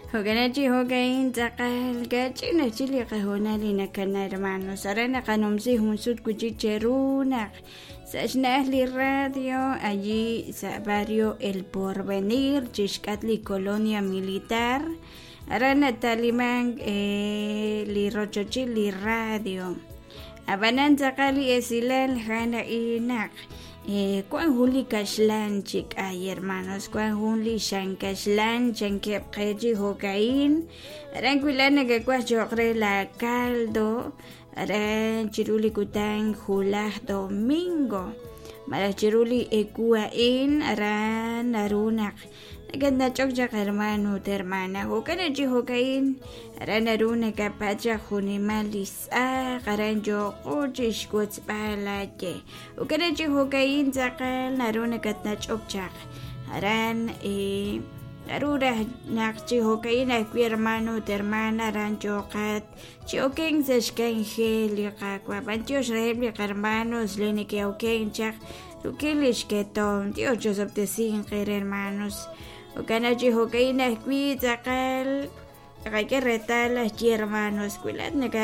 Jo'kan chi jo'ka'in tz'aqal kach'in aj chik li qahoonal li nakana hermanos. Aran naqanumsi jun sut wi' chik cheru naq sa' xna'aj li radio allí sa' barrio El Porvenir chixk'atq li Colonia Militar. Aran natalimank li rochochil li radio. Ab'anan tz'aqal li esilal a'an a'in naq Wan jun li kaxlan chi k'ay hermanos, wan jun li xan kaxlan chankeb' qe chi jo'ka'in. Aran wi' nakawaj cho'q re la caldo, aran chiru li kutan wulaj domingo malaj chiru li ewu a'in aran naru naq Nakatnach'ok chaq hermano ut hermana, jo'kan chi jo'ka'in aran naru nakapatz' chaq junimal li tz'aq aran yooqo chixwotzb'al aaye. Jo'kan chi jo'ka'in tz'aqal naru nakatnach'ok chaq aran naru raj naq chi jo'ka'in ajwi' hermano ut hermana aran yooqat chi okenk sa' xk'anjel li Qaawa'. B'antiox reheb' li qarmanos li neke'okenk chaq Rik'in lix ketomq, Dios chosob'tesinq eere hermanos. Jo'kan naq chi jo'ka'in ajwi' tz'aqal naqak'e reetal aj ye hermanos, wi laa'at naka